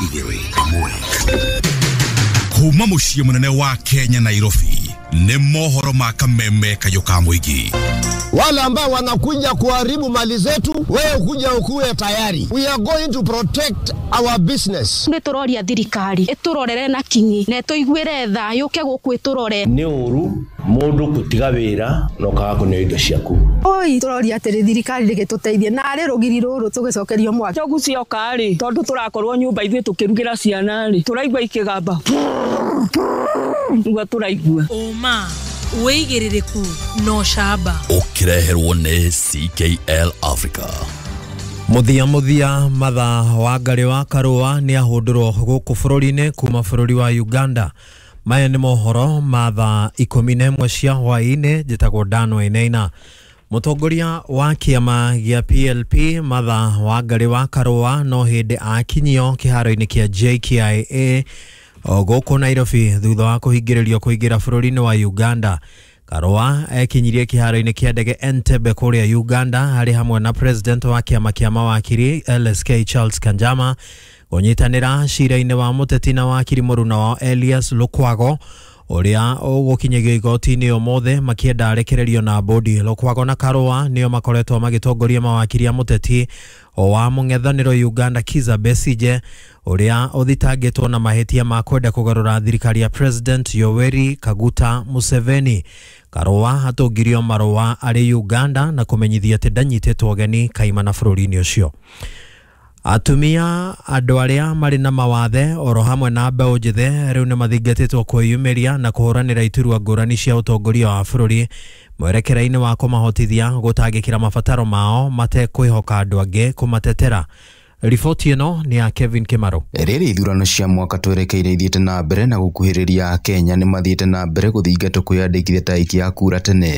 Igĩrĩ ĩmwe kuma mũciĩ mũnene wa Kenya, Nairobi, nĩ mohoro ma kameme kayũ ka mũingĩ. Wale ambao wanakuja kuharibu mali zetu, wewe kuja ukuwe tayari. We are going to protect our business. Nĩ tũroria thirikari ĩtũrorere na kinyi na ĩtũiguĩre tha, yũke gũkũ ĩtũrore. Nĩ ũru mũndũ gũtiga wĩra na ũkaga kũneo indo ciaku. Oi, tũroria atĩrĩ, thirikari rĩgĩtũteithie narĩ rũgiri rũrũ tũgĩcokerio mwaki. Njogu cioka rĩ, tondũ tũrakorwo nyũmba ithuĩ tũkĩrugĩra ciana rĩ, tũraigua ikĩgamba nĩguo tũraigua. Ũma, wĩigĩrĩrĩku na ũcamba. Ũkĩreherwo nĩ CKL Africa. Mũthia mũthia, Matha Wangarĩ wa Karũa nĩ ahũndũrwo gũkũ bũrũri-inĩ kuma bũrũri wa Uganda. Maya nĩ mohoro ma thaa 11 cia hwaĩ-inĩ. Njĩtagwo Dan Wainaina. Mũtongoria wa kĩama gĩa PLP Matha Wangarĩ wa Karũa no hĩndĩ akinyio kĩharo-inĩ kĩa JKIA gũkũ Nairobi thutha wa kũhingĩrĩrio kũingĩra bũrũri-inĩ wa Uganda. Karũa ekinyirie kĩharo-inĩ kĩa ndege Entebbe kũrĩa Uganda harĩ hamwe na president wa kĩama kĩa mawakiri LSK Charles Kanjama kũnyitanĩra cira-inĩ wa mũteti na wakiri mũruna wao Elias Lukwago, ũrĩa ũgũkinyagio igoti-inĩ ũmũthĩ makĩenda arekererio na bodi. Lukwago na Karũa nĩo makoretwo magĩtongoria mawakiri a mũteti wa mũng'ethanĩro Uganda Kizza Besigye, ũrĩa ũthitangĩtwo na mahĩtia ma kwenda kũgarũra thirikari ya President Yoweri Kaguta Museveni. Karũa atũngirio marũa arĩ Uganda na kũmenyithia atĩ ndanyitĩtwo ũgeni kaimana bũrũri-inĩ ũcio. Atumia, andũ arĩa marĩ na mawathe oro hamwe na mbeũ njĩthĩ rĩu nĩ mathingatĩtwo kwĩyumĩria na kũhũranĩra iturwa ngũrani cia ũtongoria wa bũrũri mwerekera-inĩ wa kũmahotithia gũtangĩkĩra mabataro mao matekwĩhoka andũ angĩ kũmatetera. Riboti ĩno nĩ ya Kevin Kimaro. Rĩrĩ ithurano cia mwaka twerekeire ithiĩte na mbere na gũkuhĩrĩria, Kenya nĩ mathiĩte na mbere gũthingatwo kwĩyandĩkithia ta aikia a kura tene.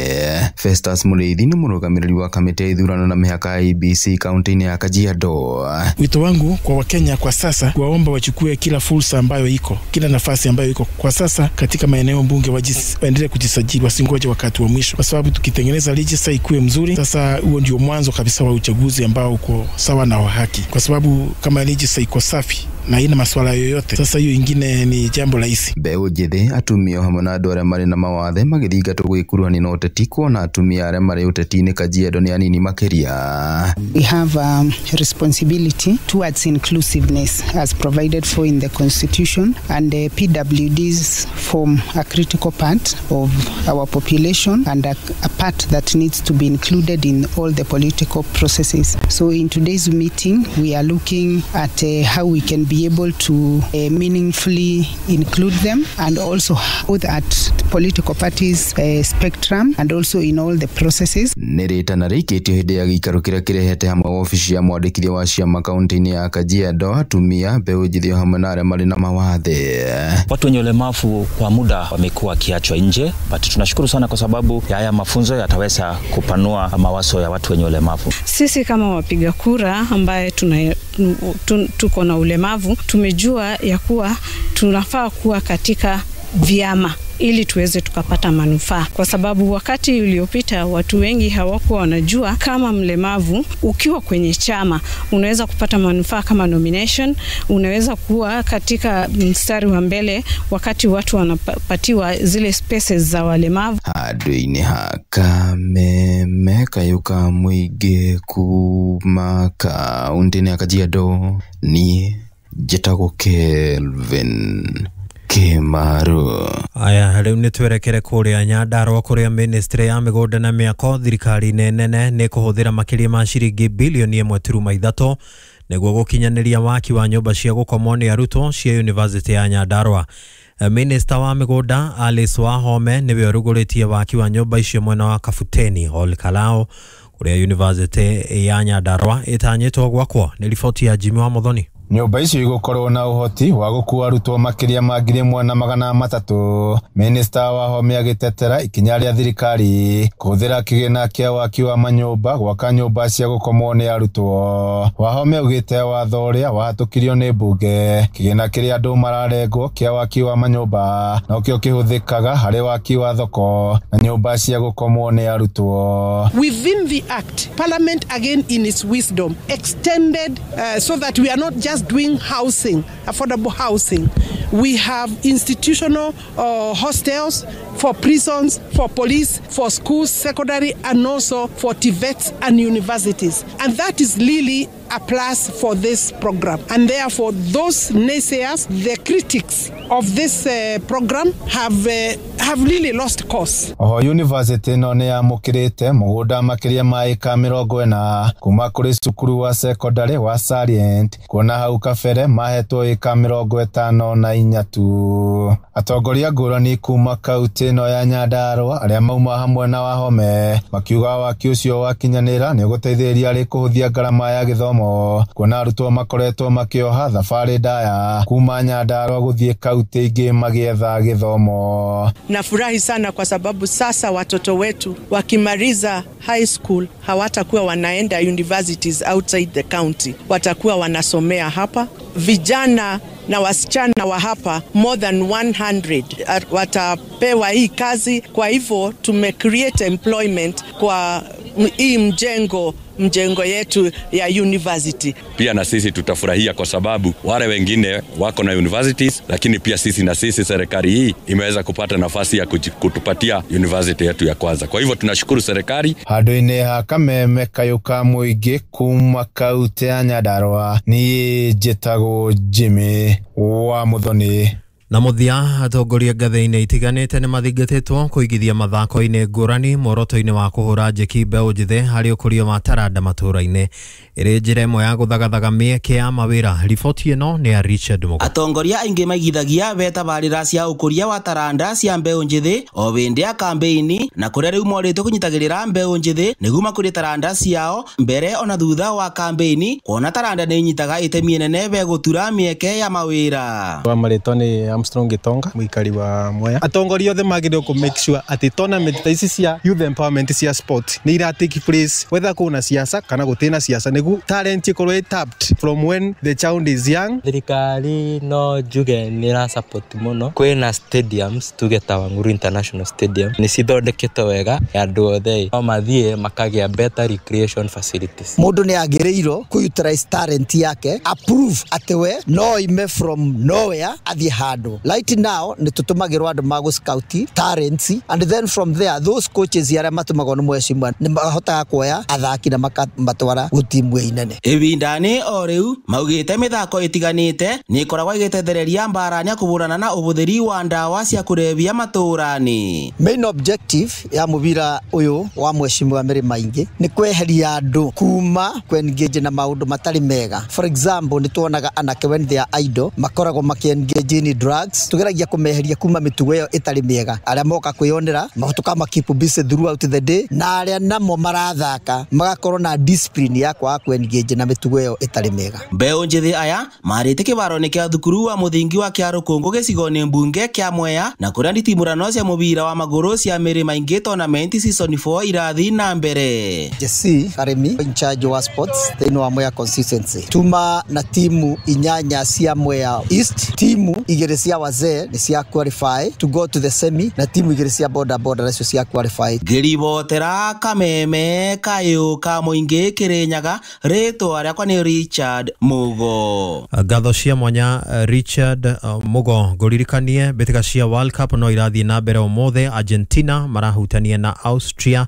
Festus Mũrĩithi nĩ mũrũgamĩrĩri wa kamĩtĩ ya ithurano na mĩhaka ya IEBC kaunti-inĩ ya Kajiado. Wito wangu kwa Wakenya kwa sasa, kuwaomba wachukue kila fursa ambayo iko, kila nafasi ambayo iko kwa sasa katika maeneo bunge, waendelee kujisajili, wasingoje wakati wa mwisho, kwa sababu tukitengeneza register ikuwe mzuri, sasa huo ndio mwanzo kabisa wa uchaguzi ambao uko sawa na wa haki, kwa sababu kama register iko safi na haina maswala yoyote, sasa hiyo ingine ni jambo rahisi. Mbeũ njĩthĩ, atumia hamwe na andũ arĩa marĩ na mawathe magĩthingatwo gwĩkuruhania na ũteti, kuona atumia arĩa marĩ ũteti-inĩ Kajiado nĩ anini makĩria. We have a responsibility towards inclusiveness as provided for in the Constitution, and the PWDs form a critical part of our population and a part that needs to be included in all the political processes. So in today's meeting, we are looking at how we can be able to meaningfully include them, and also both at political parties spectrum and also in all the processes. Nĩ rĩtana rĩikĩtio hĩndĩ ya gĩikaro kĩrĩa kĩrehete hamwe wabici ya mwandĩkithia wa ciama kaunti-inĩ ya Kajiado, atumia, mbeũ njĩthĩ hamwe na arĩa marĩ na mawathe. Watu wenye ulemavu kwa muda wamekuwa wakiachwa nje, but tunashukuru sana kwa sababu ya haya mafunzo yataweza kupanua mawazo ya watu wenye ulemavu. Sisi kama wapiga kura ambaye tuko na ulemavu, tumejua ya kuwa tunafaa kuwa katika vyama ili tuweze tukapata manufaa, kwa sababu wakati uliopita watu wengi hawakuwa wanajua kama mlemavu ukiwa kwenye chama unaweza kupata manufaa kama nomination, unaweza kuwa katika mstari wa mbele wakati watu wanapatiwa zile spaces za walemavu. Handũ-inĩ ha kameme kayũ ka mũingĩ kuma kaunti-inĩ ya Kajiado, niĩ njĩtagwo Kelvin Kimaru. Aya, rĩu nĩ twerekere kũrĩa Nyandarua kũrĩa ministry ya mĩgũnda na mĩako thirikari-inĩ nene nĩ kũhũthĩra makĩria ma ciringi bilioni 1.3 nĩguo gũkinyanĩria waki wa nyũmba cia gũkomwo nĩ arutwo cia University ya Nyandarua. Minister wa mĩgũnda Alice Wahome nĩwe ũrugũrĩtie waki wa nyũmba icio mwena wa Kabuteni Ol Kalou kũrĩa University ya Nyandarua ĩtanyĩtwo gwakwo. Nĩ riboti ya Jimmy wa Muthoni. Nyũmba icio igũkorwo na ũhoti wa gũkua arutwo makĩria ma 1,300. Minista Wahome agĩtetera ikinya rĩa thirikari kũhũthĩra kĩgĩna kĩa waki wa manyũmba gwaka nyũmba cia gũkomwo nĩ arutwo. Wahome augĩte watho ũrĩa wahatũkirio nĩ mbunge, kĩgĩna kĩrĩa andũ mararengwo kĩa waki wa manyũmba nokĩo kĩhũthĩkaga harĩ waki wa thoko na nyũmba cia gũkomwo nĩ arutwo. Within the act, Parliament again in its wisdom extended so that we are not just just doing housing, affordable housing. We have institutional hostels for prisons, for police, for schools, secondary, and also for TVETs and universities. And that is really a plus for this program. And therefore, those naysayers, the critics of this program have really lost course. Oho university ĩno nĩ yamũkĩrĩte mũgũnda makĩria ma ĩka 40 kuma kũrĩ cukuru wa secondary wa Salient, kuona hau kabere mahetwo ĩka 53 tu. Atongoria ngũrani kuma kaunti ĩno ya Nyandarua arĩa mauma hamwe na Wahome makiuga waki ũcio wakinyanĩra nĩ ũgũteithĩrĩria harĩ kũhũthia ngarama ya gĩthomo, kuona arutwo makoretwo makĩoha thabarĩ ndaya kuma Nyandarua gũthiĩ kaunti ingĩ magĩetha gĩthomo. Nafurahi sana kwa sababu sasa watoto wetu wakimaliza high school hawatakuwa wanaenda universities outside the county, watakuwa wanasomea hapa. Vijana na wasichana wa hapa more than 100 watapewa hii kazi. Kwa hivyo tume create employment kwa hii mjengo yetu ya university. Pia na sisi tutafurahia kwa sababu wale wengine wako na universities, lakini pia sisi na sisi serikali hii imeweza kupata nafasi ya kutupatia university yetu ya kwanza. Kwa hivyo tunashukuru serikali. Handũ-inĩ ha kameme kayũ ka mũingĩ kuma kaunti ya Nyandarua, niĩ njĩtagwo Jimmy wa Muthoni. Na mũthia, atongoria ngathĩ-inĩ itiganĩte nĩ mathingatĩtwo kũigithia mathako-inĩ ngũrani mworoto-inĩ wa kũhũra njeki mbeũ njĩthĩ harĩ ũkũria wa taranda matũũra-inĩ, ĩrĩ njĩra ĩmwe ya gũthagathaga mĩeke ya mawĩra. Riboti ĩno nĩ ya Richard Mugo. Atongoria aingĩ maigithagia betabarĩra cia ũkũria wa taranda cia mbeũ njĩthĩ o hĩndĩ ya kambeini, na kũrĩa rĩu morĩtwo kũnyitagĩrĩra mbeũ njĩthĩ nĩguo makũrie taranda ciao mbere ona thutha wa kambeini, kuona taranda nĩ inyitaga itemi inene begũtura mĩeke ya mawĩra. Wa marĩtwa nĩ Armstrong Gitonga, mũikari wa Mwea. Atongoria othe magĩrĩirwo kũ make sure atĩ tournament ta ici cia youth empowerment cia sport nĩ ira take place whether kwĩna siasa kana gũtirĩ na siasa, nĩguo talent ĩkorwo ĩ tapped from when the child is young. Thirikari no njuge nĩ ĩra support mũno. Kwĩna stadiums tuge ta Wang'uru International Stadium nĩ cithondeketwo wega, andũ othe no mathiĩ makagĩa better recreation facilities. Mũndũ nĩ agĩrĩirwo kũ utilize talent yake, approve atĩ we no ime from nowhere athiĩ handũ. Right now nĩ tũtũmagĩrwo andũ ma gũ scout talents, and then from there those coaches arĩa matũmagwo nĩ mheshimiwa nĩ mahotaga kuoya athaki na makamatwara gũ timu inene. Ĩbindani o rĩu maugĩte mĩthako ĩtiganĩte nĩ ĩkoragwo ĩgĩtethereria mbarania kũhũrana na ũhũthĩri wa ndawa cia kũrebia matũũra-inĩ. Main objective ya mũbira ũyũ wa mheshimiwa Mary Maingi nĩ kweheria andũ kuma kũ-engage na maũndũ matarĩ mega. For example, nĩ tuonaga anake when they are idle makoragwo makĩ-engage in drugs. Tugeragia kũmeheria kuma mĩtugo ĩyo ĩtarĩ mĩega. Arĩa moka kwĩyonera tũkama keep busy throughout the day, na arĩa namo marathaka magakorwo na discipline ya kwaga kũ-engage na mĩtugo ĩyo ĩtarĩ mĩega. Mbeũ njĩthĩ aya marĩte kĩbaro-inĩ kĩa thukuru wa mũthingi wa Kĩarũkũngũ gĩcigo-inĩ mbunge kĩa Mwea, na kũrĩa nditimũrano cia mũbira wa magũrũ cia Mĩrĩ Maingĩ tournament season 4 irathiĩ na mbere. Jesse Karemi in charge wa sports thĩinĩ wa Mwea constituency, tuma na timu 8 cia Mwea East, timu 2 cia wazee nĩ cia qualify to go to the semi, na timu 2 cia boda boda nacio cia qualify. Ngĩribotera kameme kayũ ka mũingĩ Kĩrĩnyaga, rĩtwa rĩakwa nĩ Richard Mugo. Ngatho cia mwanya Richard Mugo. Ngũririkanie mbĩtĩka cia World Cup no irathiĩ na mbere ũmũthĩ. Argentina marahutania na Austria,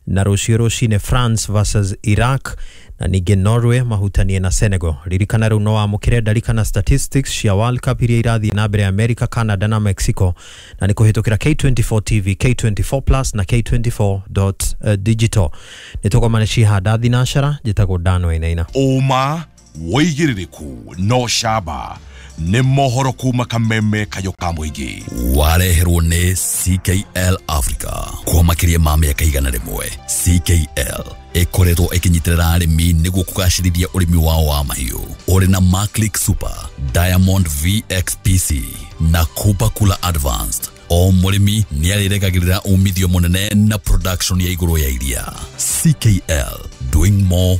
na rũciũ rũcinĩ France versus Iraq, na ningĩ Norway mahutanie na Senegal. Ririkana rĩu no wamũkĩre ndarikana statistics cia World Cup iria irathiĩ na mbere America, Canada na Mexico, na nĩ kũhĩtũkĩra K24 TV, K24 Plus na K24.digital. Nĩ tũgomane cihanda thinacara. Njĩtagwo Dan Wainaina. Ũma wĩigĩrĩrĩku no camba nĩ mohoro kuma kameme kayũ ka mũingĩ. Wareherwo nĩ CKL Africa kwa makĩria ma mĩaka 100. CKL ĩkoretwo ĩkĩnyitĩrĩra arĩmi nĩguo kũgacĩrithia ũrĩmi wao wa mahiũ. Ũrĩ na Maclick Super, Diamond VXPC na Cooper Cooler Advanced. O mũrĩmi nĩarĩrekagĩrĩra umithio mũnene na production ya igũrũ ya iria. CKL, doing more